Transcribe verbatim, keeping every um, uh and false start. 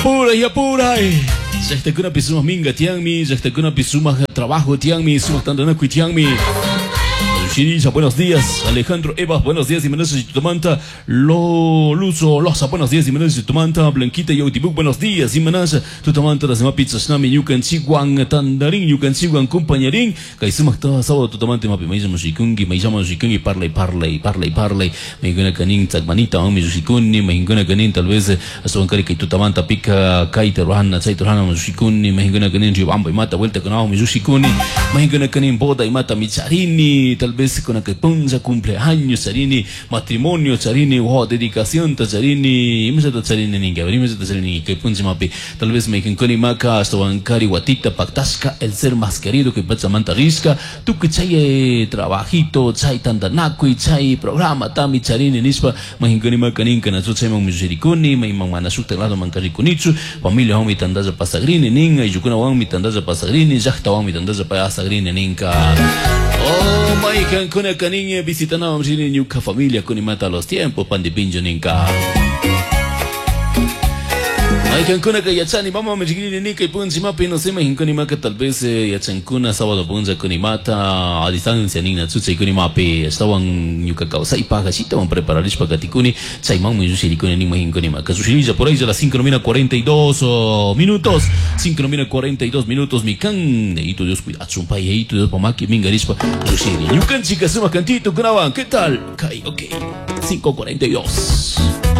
Apuray, apuray. Llaqtakunapi sumaq minka tiyanmi, llaqtakunapi sumaq trabajo tiyanmi, sumaq tantanakuy tiyanmi. Shirilla, buenos días. Alejandro Eva, buenos días. Jiménez Tumanta. Lo Luzo Loza, buenos días. Jiménez Tumanta. Blanquita Yautibuk, buenos días. Jiménez Tutamanta, las pizza Snami, Ñukanchikwan, Tandarín, Ñukanchikwan, compañerín. Kay sumaq ta sábado tutamanta, mapi, maysama shikunki, maysama shikunki, parlay, parlay, parlay, parlay. Maykuna kanin, tzakmanita, mi shikuni, maykuna kanin, tal vez, astawankari kay tutamanta, pika, kayta, ruhana, chayta, ruhana, shikuni, maykuna kanin, ribamba, imata, vuelta, kunao, mi shikuni, maykuna kanin, boda, imata, micharini, tal vez con que punza cumpleaños charini matrimonio charini wow dedicación ta charini imsa ta charini ninga imsa ta charini que punza mapi tal vez me kinkoni maka hasta bancari watita pactasca el ser más querido que pacha manta risca tu que chay trabajito chay tandanakui chay programa tami charini nispa mahinkoni maka ninka na chay mang misirikuni may mang manasukta lado mankarikunichu familia mi tandaza pasagrini ninga y yukuna wan mi tandaza pasagrini llaqta wan mi tandaza pasagrini ninka. Oh, my kuna kaninge visitana mamshini ñuka familia kunimata los tiempos pandipincho ninka. Maykankuna ka yachani mama mishkini nika y punchi mapi no sé mahinkuni maka tal vez yachankuna sábado punza kunimata a distancia nina chucha y kunimapi estaban ñuka kawsay paja chitawan prepararishpa katikuni chaymanmi llushirikuni nin mahinkuni maka sushirilla por ahí a las cinco cuarenta y dos minutos cinco cuarenta y dos minutos mi kan neito Dios cuidachun pay eito Dios pamaki mingarishpa llushiri ñukanchika sumak cantito kunawan, ¿qué tal? Kay, ok, cinco cuarenta y dos.